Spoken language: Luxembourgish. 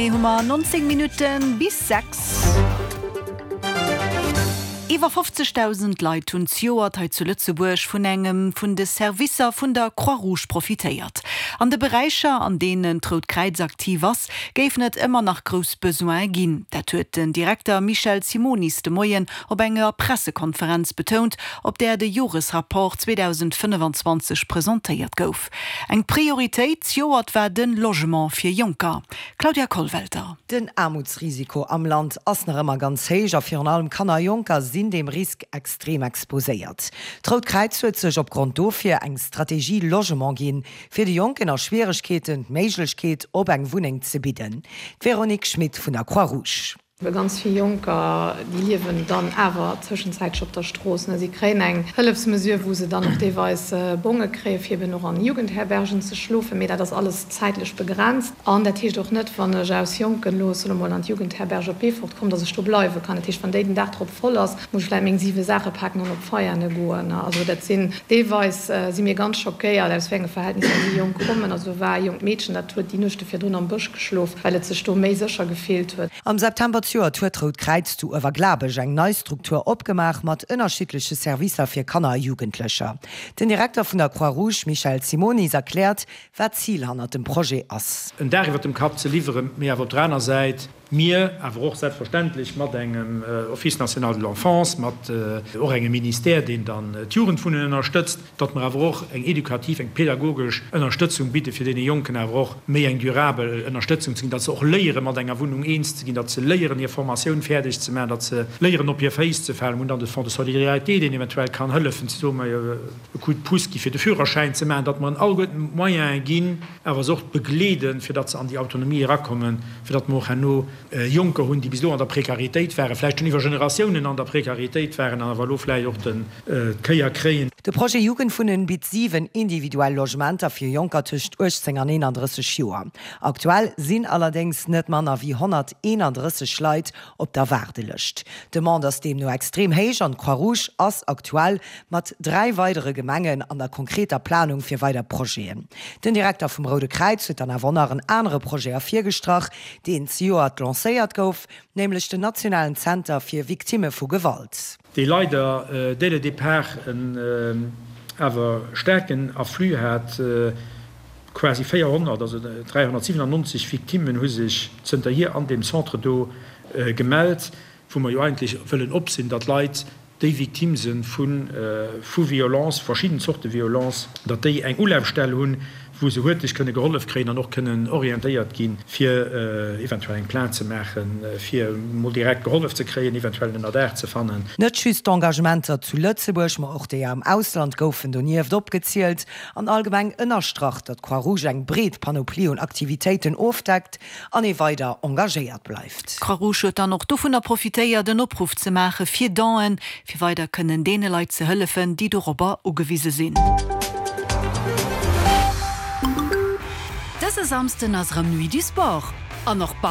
Genee hu mer 19 Minutte bis 6. Iwwer 50.000 Leit hunn zejoert hei zu Lëtzebuerg vun engem vun de Servicer vun der Croix-Rouge profitéiert. An de Beräicher, an deenen d'Rout Kräiz aktiv ass, géifen et ëmmer nach grouss Besoine ginn. Dat huet den Direkter Michel Simonis de Moien op enger Pressekonferenz betount, op där de Joresrapport 2025 presentéiert gouf. Eng Prioritéit zejoert war de Logement fir Jonker. Claudia Kollwelter. Den Aarmutsrisiko am Land ass nach ëmmer ganz héich a virun allem Kanner a Jonker sinn deem Risk extrem exposéiert. D'Rout Kräiz huet sech opgrond dofir eng Strategie Logement ginn, fir de Jonken a Schwieregkeeten d'Méiglechkeet op eng Wunneng ze bidden. D'Véronique Schmit vun der Croix-Rouge. Well ganz vill Jonker, déi liewen dann awer tëschenzäitlech op der Strooss. Si kréien eng Hëllefsmesure, wou se dann och deelweis Bonge kréien, fir eben och an Jugendherbergen ze schlofen. Mee dat ass alles zäitlech begrenzt. An dat heescht och net, wann ech aus Jonken elo, soe mol, an d'Jugendherberg op Beefort kommen, datt ech do bleiwe kann. Dat heescht, wann déi den Dag drop voll ass, muss ech vläicht meng 7 Saache paken an op Veiane goen. Also dat sinn deelweis si mir ganz schockéiert, aus wéi enge Verhältnisser déi Jonk kommen. Also do war e jonkt Meedchen, dat huet déi Nuechte virdrun am Bësch geschlof, well et sech do méi sécher gefillt huet. Am September zejoert huet d'Rout Kräiz zu Uewerglabech eng nei Struktur opgemaach mat ënnerschiddleche Servicer fir Kanner a Jugendlecher. Den Direkter vun der Croix-Rouge Michel Simonis erkläert, wat d'Zil hannert dem Projet ass. En Daach iwwer dem Kapp ze liwweren, mee awer op der aner Säit mir awer och selbstverständlech mat engem Office national de l'enfance, mat och engem Ministère, deen dann d'Jugendwunnen ënnerstëtzt, datt mer awer och eng edukativ, eng pedagogesch Ënnerstëtzung bidde fir deene Jonken awer och méi eng durabel Ënnerstëtzung ze ginn, datt se och léiere mat enger Wunnung eens ze ginn, datt se léieren hir Formatioun fäerdeg ze maachen, datt se léieren op hir Féiss ze falen. Mir hunn dann de Fonds de solidarité, deen eventuell kann hëllefen, ze soen, majo e Coup de pouce gi fir de Führerschäin ze maachen, datt mer en alleguerten d'Moyene ginn, awer se och begleeden, fir datt se an déi Autonomie erakommen, fir datt mer och herno Jonker hunn, déi bis elo an der Prekaritéit waren, vläicht schonn iwwer Generatiounen an der Prekaritéit waren an awer elo vläicht och den d'Kéier kréien. De Projet Jugendwunnen bitt 7 individuell Logementer fir Jonker tëscht 18 an 31 Joer. Aktuell sinn allerdéngs net manner wéi 131 Leit op der Waardelëscht. D'Demande ass deemno extrem héich an d'Croix-Rouge ass aktuell mat 3 weidere Gemengen an der konkreter Planung fir weider Projeten. Den Direkter vum Roude Kräiz huet dann awer och nach en anere Projet ervirgestrach, deen zejoert lancéiert gouf, nämlech den nationalen Zenter fir Victimme vu Gewalt. Dee leider dès le départ en awer staarken Afflux hat, quasi 400, also 397 Victimmen hu sech zënterhier an deem Centre do gemellt, wou mer jo eigentlech wëllen op sinn, datt Leit, déi Victime se vu Violence, verschidden Zorte Violence, datt déi eng Ulafstell hunn, wou se huerteg kënne gehollef kréien an och kënnen orientéiert ginn, fir eventuell eng Plainte ze maachen, fir mol direkt gehollef ze kréien, eventuell en Ënnerdaach ze fannen. Net just d'Engagementer zu Lëtzebuerg, ma och déi am Ausland goufen donieft opgezielt an allgemeng ënnerstrach, datt d'Croix-Rouge eng breet Panoplie un Aktivitéiten ofdeckt an ee weider engagéiert bleift. D'Croix-Rouge huet dann och dovunner profitéiert, en Opruff ze maache fir Donen, fir weider kënnen deene Leit ze hëllefen, déi dorobber ugewise sinn. Dëse Samsden ass erëm Nuit du Sport an och.